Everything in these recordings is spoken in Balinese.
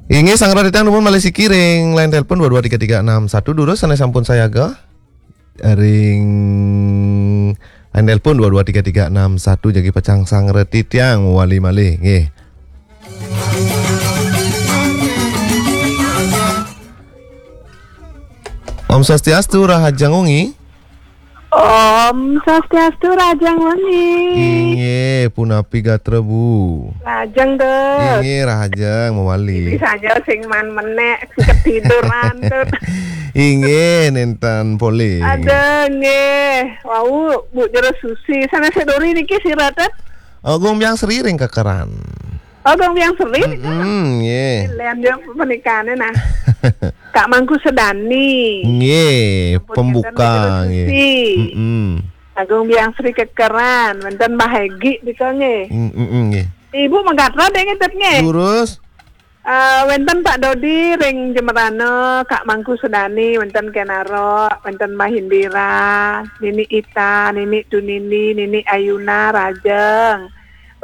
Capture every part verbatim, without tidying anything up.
Inggih, sangra titiang dumun malih siki ring line telepon dua dua tiga tiga enam satu, durus sané sampun sayaga. Ring line telepon dua dua tiga tiga enam satu, jagi pacang sangra titiang mawali malih, nggih. Om Swastiastu, rahajeng wengi. Om Swastiastu, rahajeng wengi. Inggih, punapi gatra, Bu? Rahajeng, Dut. Inggih, rahajeng mawali. Ini saja sing man menek, ketiduran, Dut. Inggih, nénten polih. Ada, nggih. Wau, Bu Jero Susi. Sané seduri niki sira, Dut? Agung Biang Sri ring Kekeran. Agung Biang Sri nika. Mm-mm, nggih. Lian dia pernikahannya, nah. Kak Mangku Sedani. Nggih, pembuka, nggih. Susi. Mm-mm. Agung Biang Sri Kekeran, wénten Mbah Egi nika, nggih. Mm-mm, nggih. Ibu Megatra deh ngitet, nggih. Durus. Eh, wénten Pak Dodi ring Jembrana, Kak Mangku Sedani, wénten Kenaro, wénten Mbah Indira, Nini Ita, Nini Tunini, Nini Ayuna, rahajeng.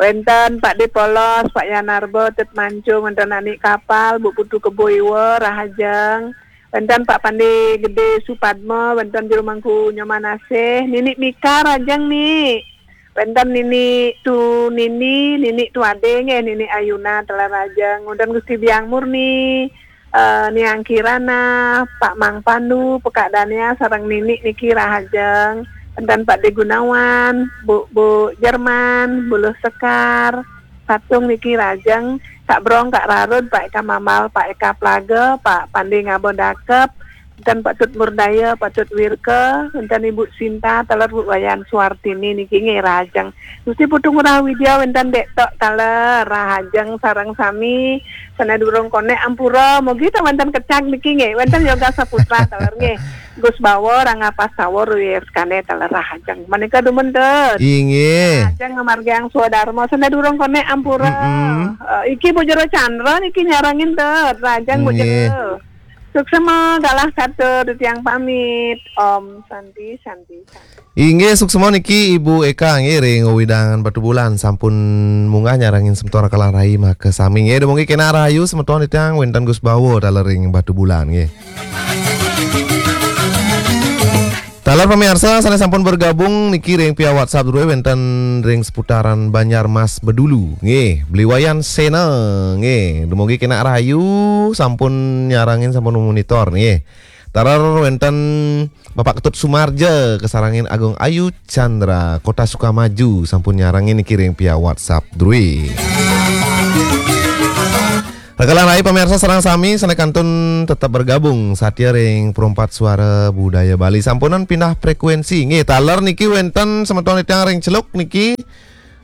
Wénten Pak Depolos, Pak Yanarba, Tet Mancung, wénten Ani Kapal, Bu Putu Kebo Iwa, rahajeng. Wénten Pak Pande Gede Supadma, wénten Jero Mangku Nyoman Asih, Nini Mika, rahajeng, Ni. Wénten Nini Tu Nini, Nini Tu Ade nggih, Nini Ayuna, taler rahajeng. Wénten Gusti Biang Murni, eh, Niang Kirana, Pak Mang Pandu, Pekak Dania, sareng Nini niki rahajeng. Wénten Pak De Gunawan, Bu, Bu Jerman, Bu Luh Sekar, Patung niki rahajeng, Kak Brong, Kak Rarud, Pak Eka Mambal, Pak Eka Plaga, Pak Pande Ngaba Dakep, wénten Pak Tut Murdaya, Pak Tut Wirka, wénten Ibu Sinta, taler Bu Wayan Suartini niki nggih rahajeng. Gusti Putu Ngurah Widya, wénten Dek Tok, taler rahajeng sareng sami, sané durung konek ampura, mugi ta wénten kecak niki nggih, wénten Yoga Saputra, taler nggih. Gus Bawa, Rangga Pastawa, Ruyes Kane, taler rahajeng. Menika dumun, Dut. Inggih. Rahajeng ngamargiang swadarma, sané durung konek ampura. Mm-mm. Eh, iki Bu Jero Chandra niki nyarengin, Dut. Rahajeng Bu Jero. Nggih. Suksma galah katur, titiang pamit. Om Santi, Santi, Santi. Inggih, suksma niki Ibu Eka nggih ring wewidangan Batubulan sampun munggah nyarengin semeton Rakalan Rai makasami. Nggih, dumugi kenak rahayu semeton titiang, wénten Gus Bawa taler ring Batubulan nggih. Taler pamiarsa sané sampun bergabung niki ring via WhatsApp drué wénten ring seputaran Banjarmas Bedulu nggih, Beli Wayan Sena nggih. Dumugi kenak rahayu sampun nyarengin sampun monitor nggih. Taler wénten Bapak Ketut Sumarja kasarengin Agung Ayu Chandra, Kota Sukamaju sampun nyarengin niki ring via WhatsApp drué. Rakalan Rai pamiarsa sareng sami sané kantun tetep bergabung satia ring Perempat Suara Budaya Bali. Sampunang pindah frekuensi. Nggih, taler niki wénten semeton titiang ring Celuk niki.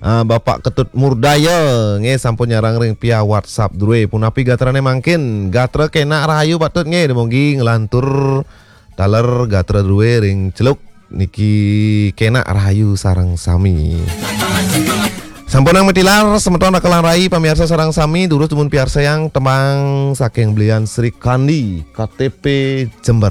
Ah, Bapak Ketut Murdaya, nggih, sampun nyarengin ring via WhatsApp drué. Punapi gatrané mangkin? Gatra kenak rahayu patut nggih, dumugi nglantur taler gatra drué ring Celuk niki kenak rahayu sareng sami. Sampunang matilar semeton Rakalan Rai pamiarsa sareng sami, durus dumun piarsayang tembang saking Belian Sri Kandi, K T P Jember.